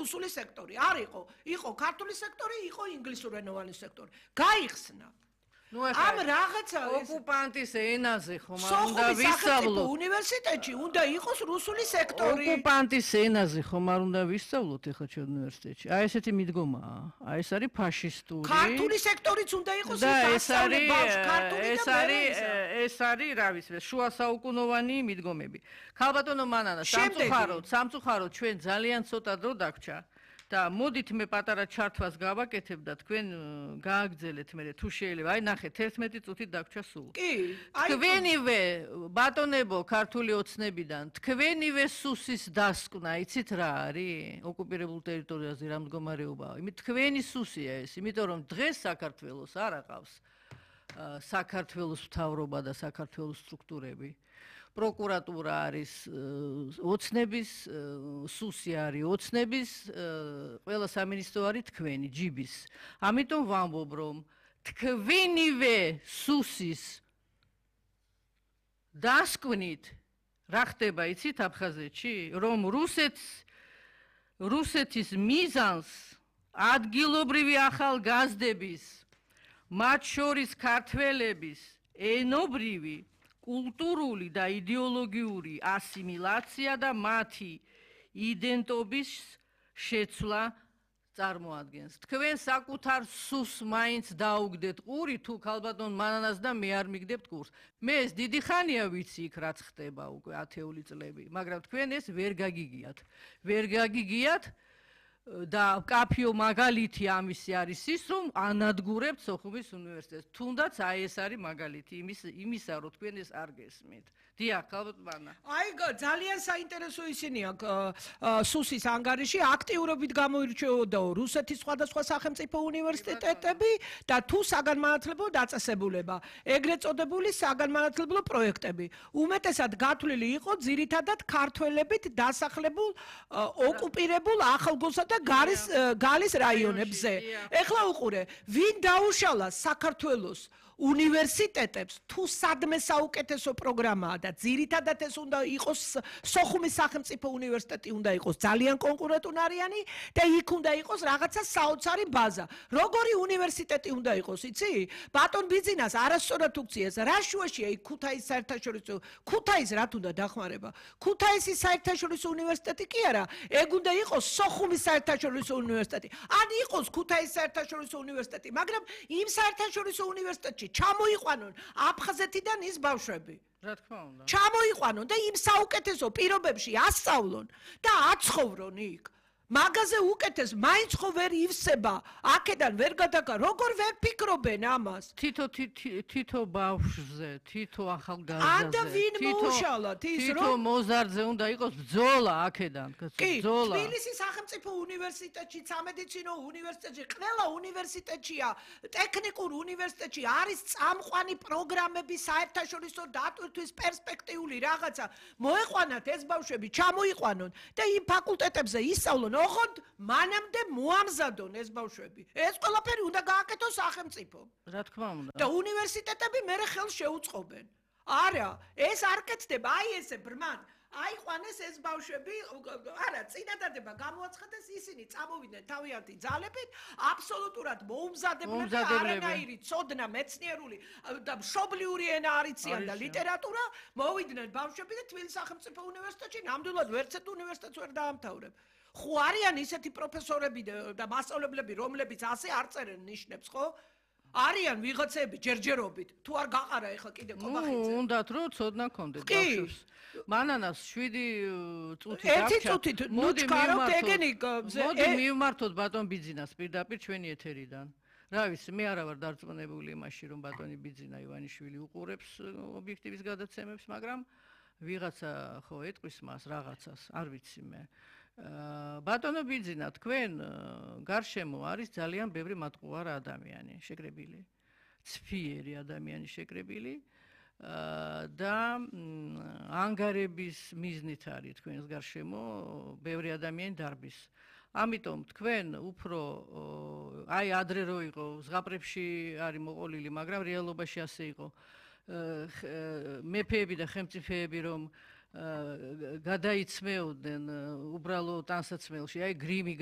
რუსული სექტორი. არ იყო ქართული სექტორი, იყო ინგლისურენოვანი სექტორი. გაიხსნა. ამ რაღაცა ოკუპანტის ენაზე ხომ არ უნდა ვისწავლოთ უნივერსიტეტში, უნდა იყოს რუსული სექტორი. ოკუპანტის ენაზე ხომ არ უნდა ვისწავლოთ ეხლა ჩვენ უნივერსიტეტში. აი ესეთი მიდგომაა. აი ეს არის ფაშისტური. ქართული სექტორიც უნდა იყოს ეს არის რა ვიცი, შუა საუკუნოვანი მიდგომები. ქალბატონო მანანა, სამწუხაროდ ჩვენ ძალიან ცოტა დრო დაგვრჩა. და მოდით მე პატარა ჩართვას გავაკეთებ და თქვენ გააგრძელეთ მე თუ შეიძლება აი ნახეთ 11 წუთით დაგვრჩა სულ კი თქვენივე ბატონებო ქართული ოცნებიდან თქვენივე სუსის დასკვნა იცით რა არის ოკუპირებულ ტერიტორიაზე რა მდგომარეობაა იმით თქვენი სუსია ეს იმიტომ რომ დღეს საქართველოს არ აყავს საქართველოს მთავრობა და საქართველოს სტრუქტურები პროკურატურა არის ოცნების სუსი არის ოცნების ყველა სამინისტრო არის თქვენი ჯიბის ამიტომ ვამბობ რომ თქვენივე სუსის დასკვნით რა ხდება იცით აფხაზეთში რომ რუსეთის მიზანს ადგილობრივი ახალგაზრდების მათ შორის ქართველების ენობრივი კულტურული და იდეოლოგიური ასიმილაცია და მათი იდენტობის შეცვლა წარმოადგენს. თქვენ საკუთარ სუსს მაინც დაუგდეთ ყური თუ ქალბატონ მანანას და მე არ მიგდებთ კურსს. მე ეს დიდი ხანია ვიცი იქ რაც ხდება უკვე 10 წლები, მაგრამ თქვენ ეს ვერ გაგიგიათ. და კაფიო მაგალითი ამისი არის ის რომ ანადგურებთ სოხუმის უნივერსიტეტს. თუნდაც აი ეს არის მაგალითი იმისა რომ თქვენ ეს არ გესმით. დიახ, ქალბატონა. აი ძალიან საინტერესო ისინი აქ სუსის ანგარიში აქტიურობით გამოირჩეოდაო რუსეთის სხვადასხვა სახელმწიფო უნივერსიტეტები და თუ საგანმანათლებლო დაწესებულება, ეგრეთ წოდებული საგანმანათლებლო პროექტები. უმეტესად გათვლილი იყო ძირითადად ქართველებით დასახლებულ ოკუპირებულ ახალგაზრდა და გალის რაიონებზე. ეხლა უყურე, ვინ დაუშალა საქართველოს უნივერსიტეტებს თუ სადმე საუკეთესო პროგრამაა და ძირითადად ეს უნდა იყოს სოხუმის სახელმწიფო უნივერსიტეტი უნდა იყოს ძალიან კონკურენტუნარიანი და იქ უნდა იყოს რაღაცა საოცარი ბაზა. როგორი უნივერსიტეტი უნდა იყოს, იცი? ბატონ ბიძინას არასწორად უქციეს. რა შუაშია იქ ქუთაისის საერთაშორისო ქუთაისს რა თუნდა დახმარება? ქუთაისის საერთაშორისო უნივერსიტეტი კი არა, ეგ უნდა იყოს სოხუმის საერთაშორისო უნივერსიტეტი. ან იყოს ქუთაისის საერთაშორისო უნივერსიტეტი, მაგრამ იმ საერთაშორისო უნივერსიტეტში ჩამოიყვანონ აფხაზეთიდან ის ბავშვები. რა თქმა უნდა. ჩამოიყვანონ და იმ საუკეთესო პირობებში ასწავლონ და აცხოვრონ იქ. მაგაზე უკეთეს მაინც ხო ვერ ივსება აქედან ვერ გადაგა როგორ ვერ ფიქრობენ ამას თითო ბავშვზე თითო ახალგაზრდაზე ანდა ვინ მოუშალათ ის თითო მოზარდზე უნდა იყოს ბრძოლა აქედან ბრძოლა თბილისის სახელმწიფო უნივერსიტეტში სამედიცინო უნივერსიტეტში ყველა უნივერსიტეტშია ტექნიკურ უნივერსიტეტში არის წამყვანი პროგრამები საერთაშორისო დატვირთვის პერსპექტიული რაღაცა მოეყვანათ ეს ბავშვები ჩამოიყვანონ და იმ ფაკულტეტებზე ისწავლონ ოღონდ მანამდე მოამზადონ ეს ბავშვები. ეს ყველაფერი უნდა გააკეთოს სახელმწიფომ. რა თქმა უნდა. და უნივერსიტეტები მერე ხელს შეუწყობენ. არა, ეს არ კეთდება, აი ესე ბრმად. აიყვანეს ეს ბავშვები, არა, წინადადება გამოაცხადეს ისინი წამოვიდნენ თავიანთი ძალებით, აბსოლუტურად მოუმზადებლები, არანაირი ცოდნა, მეცნიერული და მშობლიური ენა არიციან და ლიტერატურა, მოვიდნენ ბავშვები და თბილისის სახელმწიფო უნივერსიტეტში ნამდვილად ვერცერთ უნივერსიტეტს ვერ დაამთავრებ. ხო არიან ისეთი პროფესორები და მასწავლებლები, რომლებიც ასე არ წერენ ნიშნებს, ხო? არიან ვიღაცები ჯერჯერობით. თუ არ გაყარა ეხლა კიდე კობახიძე. უნდათ რომ ცოდნა გქონდეთ ბავშვს. მანანას 7 წუთი დაგჭა. 1 წუთით ნუჩქარობთ ეგენი. მოდი მივმართოთ ბატონ ბიძინას პირდაპირ ჩვენი ეთერიდან. რა ვიცი, მე არა ვარ დარწმუნებული იმაში, რომ ბატონი ბიძინა ივანიშვილი უყურებს ობიექტივის გადაცემებს, მაგრამ ვიღაცა ხო ეტყვის მას რაღაცას, არ ვიცი მე. ბატონო ბიძინა, თქვენ გარშემო არის ძალიან ბევრი მატყუარა ადამიანი შეკრებილი. ცფიერი ადამიანი შეკრებილი და ანგარების მიზნით არის თქვენს გარშემო ბევრი ადამიანი დარბის. ამიტომ თქვენ უფრო აი ადრე რო იყო ზღაპრებში არის მოყოლილი, მაგრამ რეალობაში ასე იყო. მეფეები და ხელმწიფეები რომ გადაიცმეოდნენ უბრალო ტანსაცმელში, აი გრიმი